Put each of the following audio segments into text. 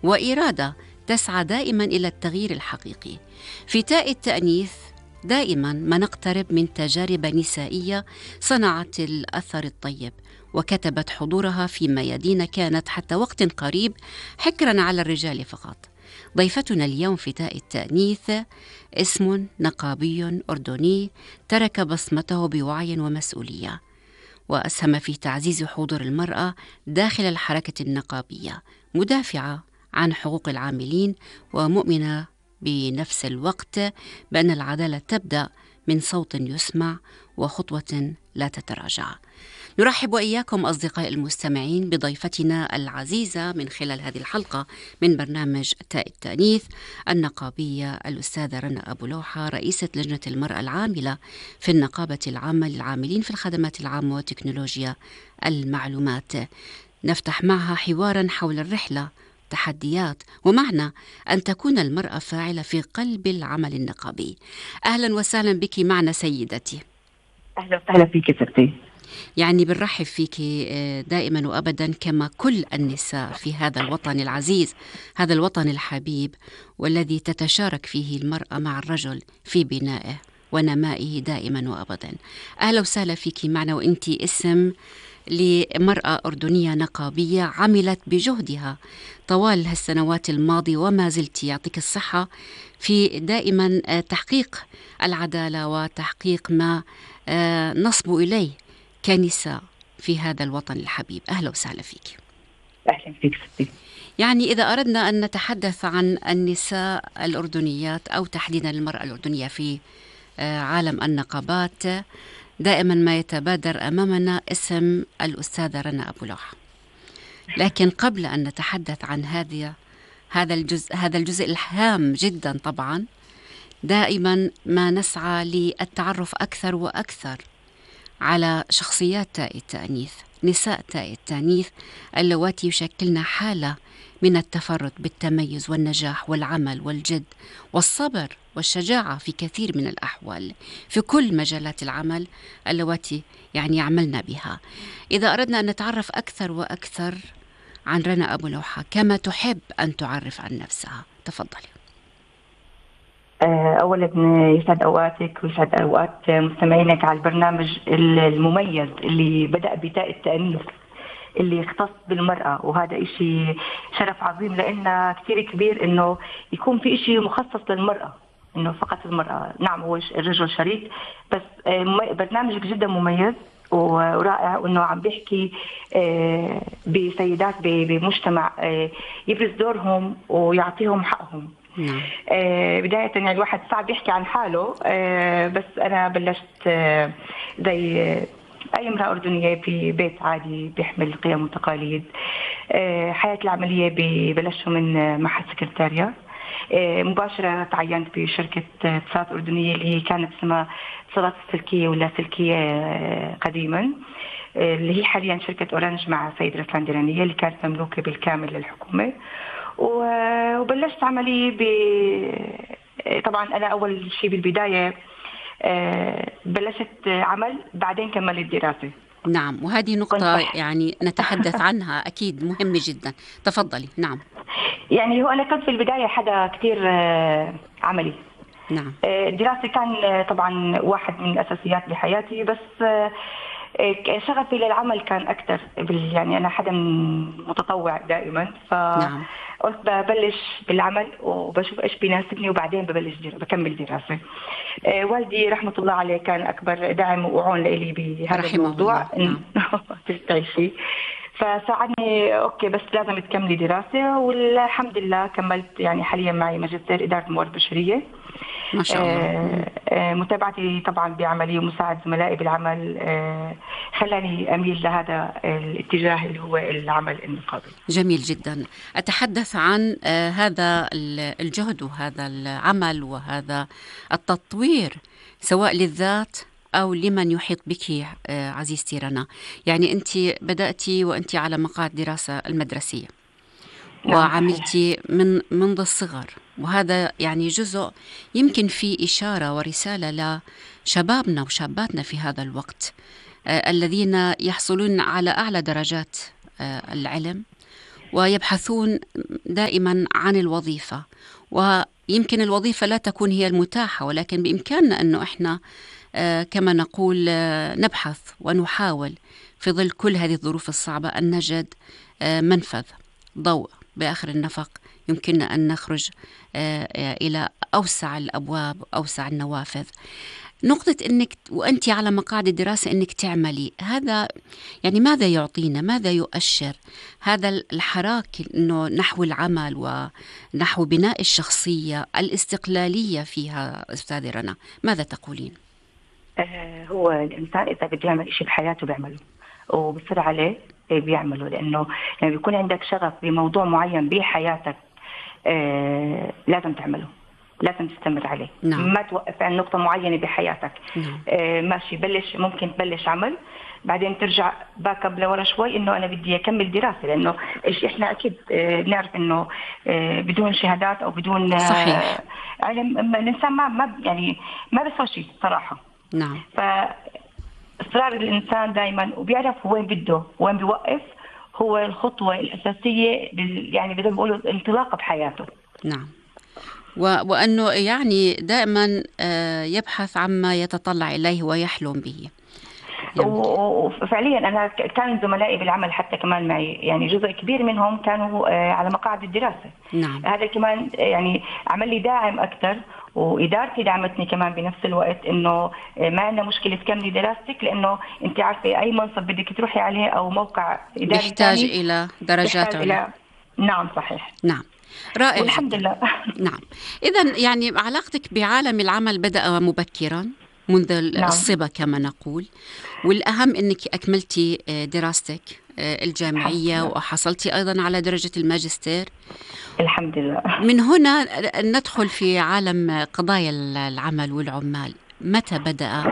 وإرادة تسعى دائما إلى التغيير الحقيقي. في تاء التأنيث دائما ما نقترب من تجارب نسائية صنعت الأثر الطيب وكتبت حضورها في ميادين كانت حتى وقت قريب حكرا على الرجال فقط. ضيفتنا اليوم في تاء التأنيث اسم نقابي أردني ترك بصمته بوعي ومسؤولية، وأسهم في تعزيز حضور المرأة داخل الحركة النقابية، مدافعة عن حقوق العاملين ومؤمنة بنفس الوقت بأن العدالة تبدأ من صوت يسمع وخطوة لا تتراجع. نرحب وإياكم أصدقائي المستمعين بضيفتنا العزيزة من خلال هذه الحلقة من برنامج تاء التأنيث النقابية الأستاذة رنا أبو لوحة، رئيسة لجنة المرأة العاملة في النقابة العامة للعاملين في الخدمات العامة وتكنولوجيا المعلومات. نفتح معها حوارا حول الرحلة، تحديات، ومعنى أن تكون المرأة فاعلة في قلب العمل النقابي. أهلا وسهلا بك معنا سيدتي. أهلا وسهلا فيك ستي. يعني بنرحب فيك دائما وأبدا كما كل النساء في هذا الوطن العزيز، هذا الوطن الحبيب، والذي تتشارك فيه المرأة مع الرجل في بنائه ونمائه دائما وأبدا. أهلا وسهلا فيك معنا، وإنتي اسم لمرأة أردنية نقابية عملت بجهدها طوال هالسنوات الماضية وما زلت، يعطيك الصحة، في دائما تحقيق العدالة وتحقيق ما نصب إليه كنساء في هذا الوطن الحبيب. أهلا وسهلا فيك. أهلا فيك ستي. يعني إذا أردنا أن نتحدث عن النساء الأردنيات أو تحديدا المرأة الأردنية في عالم النقابات، دائما ما يتبادر أمامنا اسم الأستاذة رنا أبو لوحة. لكن قبل أن نتحدث عن هذا الجزء الهام جدا، طبعا دائما ما نسعى للتعرف أكثر وأكثر على شخصيات تاء التأنيث، نساء تاء التأنيث اللواتي يشكلن حالة من التفرد بالتميز والنجاح والعمل والجد والصبر والشجاعة في كثير من الأحوال في كل مجالات العمل اللواتي يعني يعملنا بها. إذا أردنا أن نتعرف أكثر وأكثر عن رنا أبو لوحة كما تحب أن تعرف عن نفسها، تفضلي. أولا يسعد أوقاتك ويسعد أوقات مستمعينك على البرنامج المميز اللي بدأ بتاء التأنيث اللي يختص بالمرأة، وهذا إشي شرف عظيم لأنه كتير كبير إنه يكون في إشي مخصص للمرأة، إنه فقط المرأة. نعم هو الرجل شريك، بس برنامجك جدا مميز ورائع، وإنه عم بيحكي بسيدات بمجتمع يبرز دورهم ويعطيهم حقهم. بداية يعني الواحد صعب يحكي عن حاله، بس أنا بلشت زي أي امرأة أردنية في بيت عادي بيحمل قيم وتقاليد. حياتي العملية بلشوا من معهد سكرتاريا، مباشرة تعينت بشركة اتصالات أردنية اللي هي كانت اسمها اتصالات السلكية ولا سلكية قديما، اللي هي حاليا شركة أورانج مع سيد رسلان ديرانية اللي كانت مملوكة بالكامل للحكومة. وبلشت عملي طبعا أنا أول شيء بالبداية بلشت عمل، بعدين كملت دراسة. نعم، وهذه نقطة يعني نتحدث عنها أكيد مهمة جدا، تفضلي. نعم، يعني هو أنا كنت في البداية حدا كتير عملي. نعم، الدراسة كان طبعا واحد من الأساسيات بحياتي، بس شغفي للعمل كان أكثر. يعني أنا حدا متطوع دائما، فقلت ببلش بالعمل وبشوف إيش بيناسبني وبعدين بكمل دراسة. والدي رحمة الله عليه كان أكبر داعم وعون لي بهذا الموضوع. تعيشي فساعدني أوكي، بس لازم تكملي دراسة، والحمد لله كملت. يعني حاليا معي ماجستير إدارة موارد بشرية ما شاء الله. متابعتي طبعا بعملي ومساعد زملائي بالعمل خلاني أميل لهذا الاتجاه اللي هو العمل النقابي. جميل جدا. أتحدث عن هذا الجهد وهذا العمل وهذا التطوير سواء للذات أو لمن يحيط بك عزيزتي رنا. يعني أنت بدأتي وأنت على مقاعد دراسة المدرسية وعملتي منذ الصغر، وهذا يعني جزء يمكن فيه إشارة ورسالة لشبابنا وشاباتنا في هذا الوقت الذين يحصلون على أعلى درجات العلم ويبحثون دائما عن الوظيفة، ويمكن الوظيفة لا تكون هي المتاحة، ولكن بإمكاننا أنه إحنا كما نقول نبحث ونحاول في ظل كل هذه الظروف الصعبة أن نجد منفذ ضوء بآخر النفق، يمكننا أن نخرج إلى أوسع الأبواب، أوسع النوافذ. نقطة أنك وأنت على مقاعد الدراسة أنك تعملي، هذا يعني ماذا يعطينا، ماذا يؤشر هذا الحراك أنه نحو العمل ونحو بناء الشخصية الاستقلالية فيها؟ أستاذة رنا، ماذا تقولين؟ هو الإنسان إذا بده يعمل إشي بحياته بيعمله وبصير عليه بيعمله، لأنه يعني بيكون عندك شغف بموضوع معين بحياتك لازم تعمله، لازم تستمر عليه. نعم. ما توقف عن نقطة معينة بحياتك. نعم. ماشي، ممكن تبلش عمل بعدين ترجع باك اب لورا شوي انه انا بدي اكمل دراسه، لانه احنا اكيد بنعرف انه بدون شهادات او بدون صحيح. علم الانسان ما يعني ما بيسوى شيء صراحه. نعم. فاصرار الانسان دائما وبيعرف وين بده وين بيوقف، هو الخطوه الاساسيه يعني بدهم يقولوا الانطلاقه بحياته. نعم. وأنه يعني دائما يبحث عما يتطلع إليه ويحلم به. وفعليا أنا كان زملائي بالعمل حتى كمان معي، يعني جزء كبير منهم كانوا على مقاعد الدراسة. نعم. هذا كمان يعني عمل لي داعم أكثر، وإدارتي دعمتني كمان بنفس الوقت، إنه ما عندنا مشكلة تكملي دراستك، لأنه أنت عارفة أي منصب بدك تروحي عليه أو موقع إداري يحتاج إلى درجات عليا. نعم صحيح. نعم. رائع. والحمد لله. نعم. إذن يعني علاقتك بعالم العمل بدأ مبكرا منذ الصبا كما نقول، والأهم أنك أكملتي دراستك الجامعية وحصلتي أيضا على درجة الماجستير. الحمد لله. من هنا ندخل في عالم قضايا العمل والعمال. متى بدأ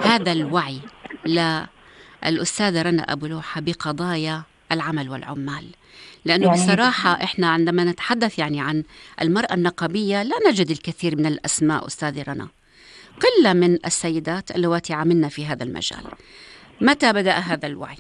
هذا الوعي للأستاذة رنا أبو لوحة بقضايا العمل والعمال؟ لأنه يعني بصراحة إحنا عندما نتحدث يعني عن المرأة النقابية لا نجد الكثير من الأسماء أستاذة رنا، قلة من السيدات اللواتي عملنا في هذا المجال. متى بدأ هذا الوعي؟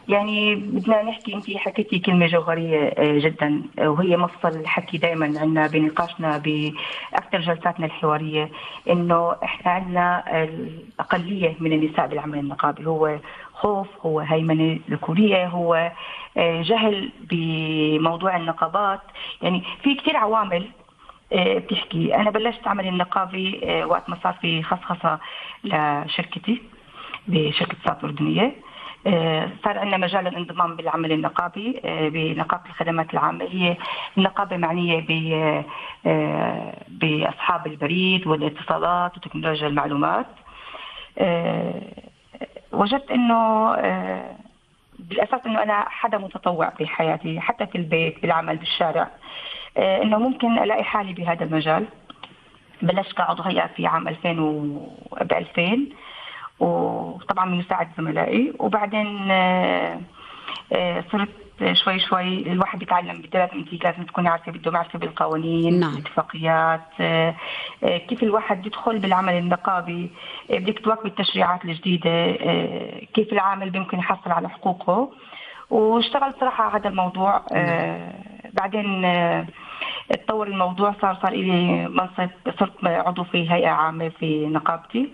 يعني بدنا نحكي، أنت حكيتي كلمة جوهرية جدا، وهي مفصل الحكي دائما عندنا بنقاشنا بأكثر جلساتنا الحوارية، إنه إحنا عندنا الأقلية من النساء بالعمل النقابي، هو خوف، هو هيمنة ذكورية، هو جهل بموضوع النقابات. يعني في كتير عوامل بتحكي. أنا بلشت عمل النقابي وقت ما صار في خصخصة لشركتي بشركة صات أردنية. صار عندنا مجال الانضمام بالعمل النقابي بنقابة الخدمات العامة. هي النقابة معنية بأصحاب البريد والاتصالات وتكنولوجيا المعلومات. وجدت إنه بالأساس إنه أنا حدا متطوع بحياتي، حتى في البيت، بالعمل، بالشارع، إنه ممكن ألاقي حالي بهذا المجال. بلشت كعضو هيئة في عام 2000 وطبعا من مساعد زملائي، وبعدين صرت شوي شوي الواحد بيتعلم بالدراسة. انت لازم تكوني عارفة، بده معرفة بالقوانين. نعم. الاتفاقيات، كيف الواحد يدخل بالعمل النقابي، بدك تواكبي التشريعات الجديدة، كيف العامل بيمكن يحصل على حقوقه. واشتغلت صراحة على هذا الموضوع. بعدين اتطور الموضوع، صار لي منصب، صرت عضو في هيئة عامة في نقابتي،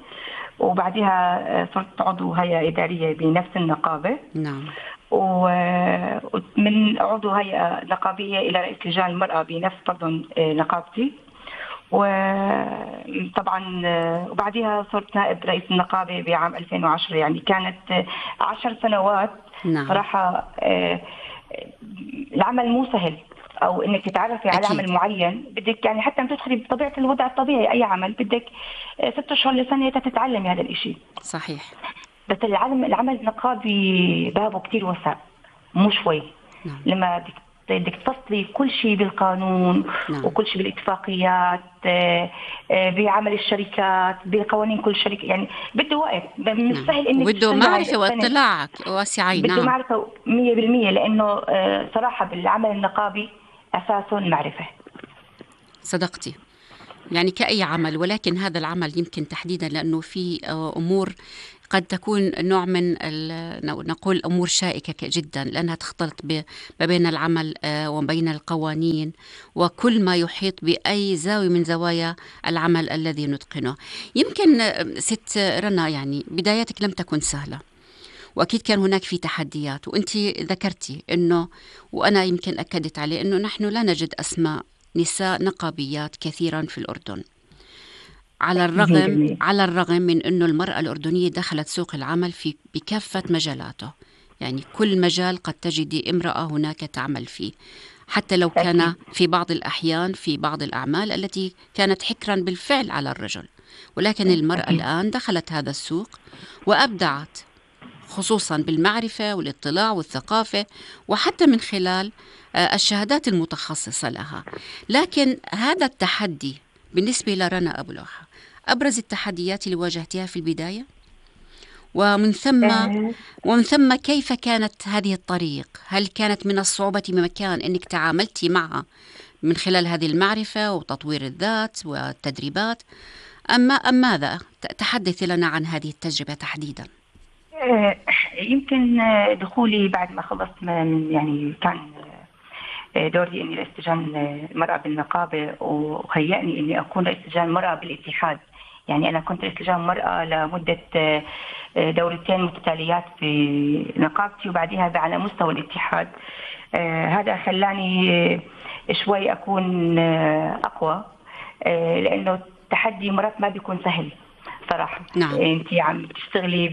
وبعدها صرت عضو هيئة إدارية بنفس النقابة. نعم. ومن عضو هيئة نقابية إلى رئيس لجان المرأة بنفس برضه نقابتي. وطبعا وبعدها صرت نائب رئيس النقابة بعام 2010. يعني كانت 10 سنوات. نعم. صراحة العمل مو سهل، او انك تتعرفي على عمل معين. بدك يعني حتى تدخلي بطبيعه الوضع الطبيعي اي عمل بدك 6 أشهر لسنه تتعلمي هذا الاشي. صحيح. بس العمل النقابي بابه كتير واسع، مو شوي. نعم. لما بدك تفصلي كل شيء بالقانون. نعم. وكل شيء بالاتفاقيات، بعمل الشركات، بقوانين كل شركه، يعني بده وقت. مش سهل انك بده معرفه واطلاع واسعين. بده معرفه 100%، لانه صراحه بالعمل النقابي أساس معرفة. صدقتي، يعني كأي عمل، ولكن هذا العمل يمكن تحديدا لأنه في أمور قد تكون نوع من نقول أمور شائكة جدا، لأنها تختلط ما بين العمل وبين القوانين وكل ما يحيط بأي زاوية من زوايا العمل الذي نتقنه. يمكن ست رنا يعني بداياتك لم تكن سهلة، وأكيد كان هناك في تحديات، وأنت ذكرتي أنه، وأنا يمكن أكدت عليه، أنه نحن لا نجد أسماء نساء نقابيات كثيرا في الأردن، على الرغم من أنه المرأة الأردنية دخلت سوق العمل بكافة مجالاته. يعني كل مجال قد تجدي امرأة هناك تعمل فيه، حتى لو كان في بعض الأحيان في بعض الأعمال التي كانت حكرا بالفعل على الرجل، ولكن المرأة الآن دخلت هذا السوق وأبدعت، خصوصا بالمعرفة والاطلاع والثقافة، وحتى من خلال الشهادات المتخصصة لها. لكن هذا التحدي بالنسبة لرنا أبو لوحة أبرز التحديات اللي واجهتها في البداية، ومن ثم كيف كانت هذه الطريق؟ هل كانت من الصعوبة بمكان أنك تعاملتي معها من خلال هذه المعرفة وتطوير الذات والتدريبات، أم ماذا؟ تحدثي لنا عن هذه التجربة تحديدا. يمكن دخولي بعد ما خلصت يعني كان دوري اني رئيس لجان المرأة بالنقابة، وهيأني اني اكون رئيس لجان المرأة بالاتحاد. يعني انا كنت رئيس لجان المرأة لمدة دورتين متتاليات في نقابتي، وبعدها على مستوى الاتحاد. هذا خلاني شوي اكون اقوى، لانه التحدي مرات ما بيكون سهل صراحة. نعم. انت عم تشتغلي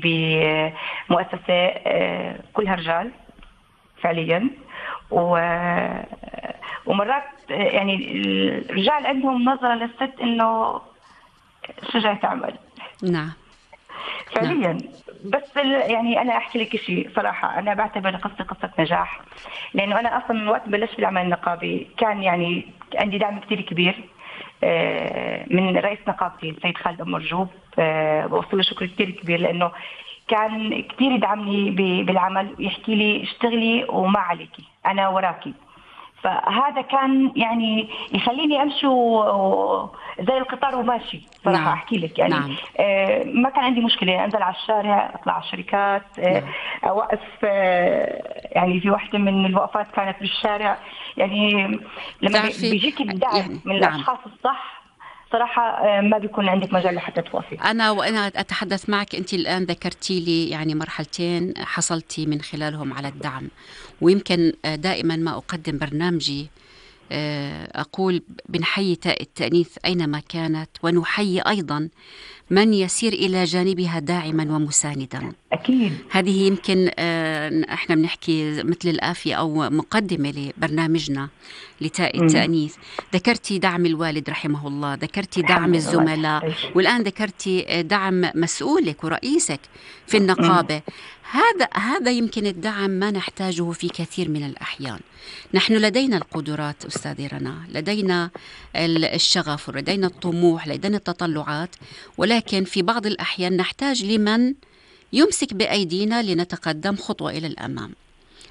بمؤسسة كلها رجال فعليا، ومرات يعني الرجال عندهم نظرة للست انه شو جاي تعمل. نعم فعليا. نعم. بس يعني انا احكي لك شيء صراحة، انا بعتبر قصة نجاح، لانه انا اصلا وقت بلشت في العمل النقابي كان يعني عندي دعم كتير كبير من رئيس نقابتي السيد خالد أم مرجوب. بوصل له شكر كتير كبير، لأنه كان كتير يدعمني بالعمل، ويحكي لي اشتغلي وما عليكي، أنا وراكي. فهذا كان يعني يخليني أمشي زي القطار وماشي صراحة. نعم. أحكي لك يعني. نعم. ما كان عندي مشكلة أنزل على الشارع، أطلع على الشركات. نعم. أوقف. يعني في واحدة من الوقفات كانت بالشارع، يعني لما بيجيك الدعم يعني من الأشخاص الصح صراحة ما بيكون عندك مجال لحتى توافي. وأنا أتحدث معك، أنت الآن ذكرتي لي يعني مرحلتين حصلتي من خلالهم على الدعم، ويمكن دائما ما أقدم برنامجي أقول بنحيي تاء التأنيث أينما كانت، ونحيي أيضا من يسير إلى جانبها داعما ومساندا. أكيد. هذه يمكن احنا بنحكي مثل الآفية أو مقدمة لبرنامجنا لتاء التأنيث. ذكرتي دعم الوالد رحمه الله، ذكرتي دعم الزملاء، والآن ذكرتي دعم مسؤولك ورئيسك في النقابة. هذا يمكن الدعم ما نحتاجه في كثير من الأحيان. نحن لدينا القدرات أستاذي رنا، لدينا الشغف ولدينا الطموح، لدينا التطلعات، ولكن في بعض الأحيان نحتاج لمن يمسك بأيدينا لنتقدم خطوة إلى الأمام.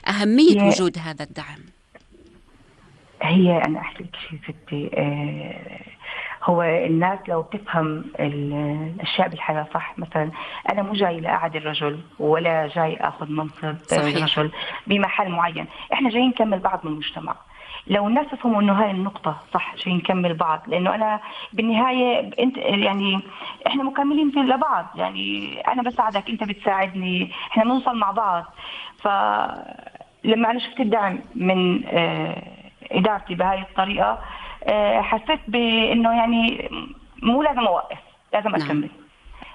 أهمية وجود هذا الدعم. هي أنا أحكي لك شيء ستي، هو الناس لو تفهم الأشياء بالحياة صح. مثلا أنا مو جاي لأعد الرجل ولا جاي أخذ منصب رجل بمحل معين، إحنا جايين نكمل بعض من المجتمع. لو الناس يفهموا إنه هاي النقطة صح، جايين نكمل بعض، لأنه أنا بالنهاية أنت يعني إحنا مكملين في لبعض. يعني أنا بساعدك، أنت بتساعدني، إحنا بنوصل مع بعض. فلما أنا شفت الدعم من إدارتي بهاي الطريقة، حسيت بأنه يعني مو لازم أوقف، لازم أكمل.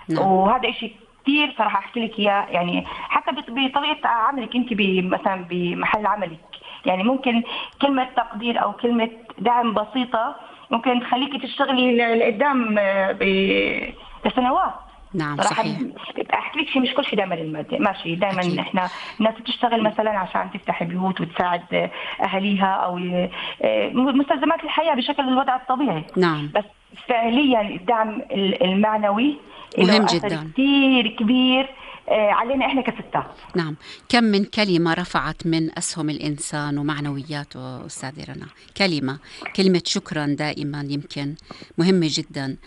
نعم. وهذا إشي كتير صراحة أحكي لك إياه، يعني حتى بطريقة عملك أنت مثلا بمحل عملك، يعني ممكن كلمة تقدير أو كلمة دعم بسيطة ممكن تخليكي تشتغلي لقدام لسنوات. نعم صحيح. احكي لك شيء، مش كل شيء دائما المادة ماشي. دائما أكيد. احنا الناس بتشتغل مثلا عشان تفتح بيوت وتساعد اهاليها او مستلزمات الحياة بشكل الوضع الطبيعي. نعم. بس فعليا الدعم المعنوي مهم له أثر جدا. كتير كبير علينا إحنا كستات. نعم، كم من كلمة رفعت من أسهم الإنسان ومعنوياته أستاذة رنا. كلمة شكرا دائما يمكن مهمة جدا.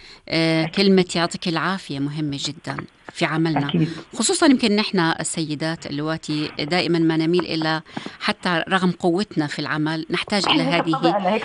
كلمة يعطيك العافية مهمة جدا في عملنا. أكيد. خصوصا يمكن نحن السيدات اللواتي دائما ما نميل إلى، حتى رغم قوتنا في العمل نحتاج إلى هذه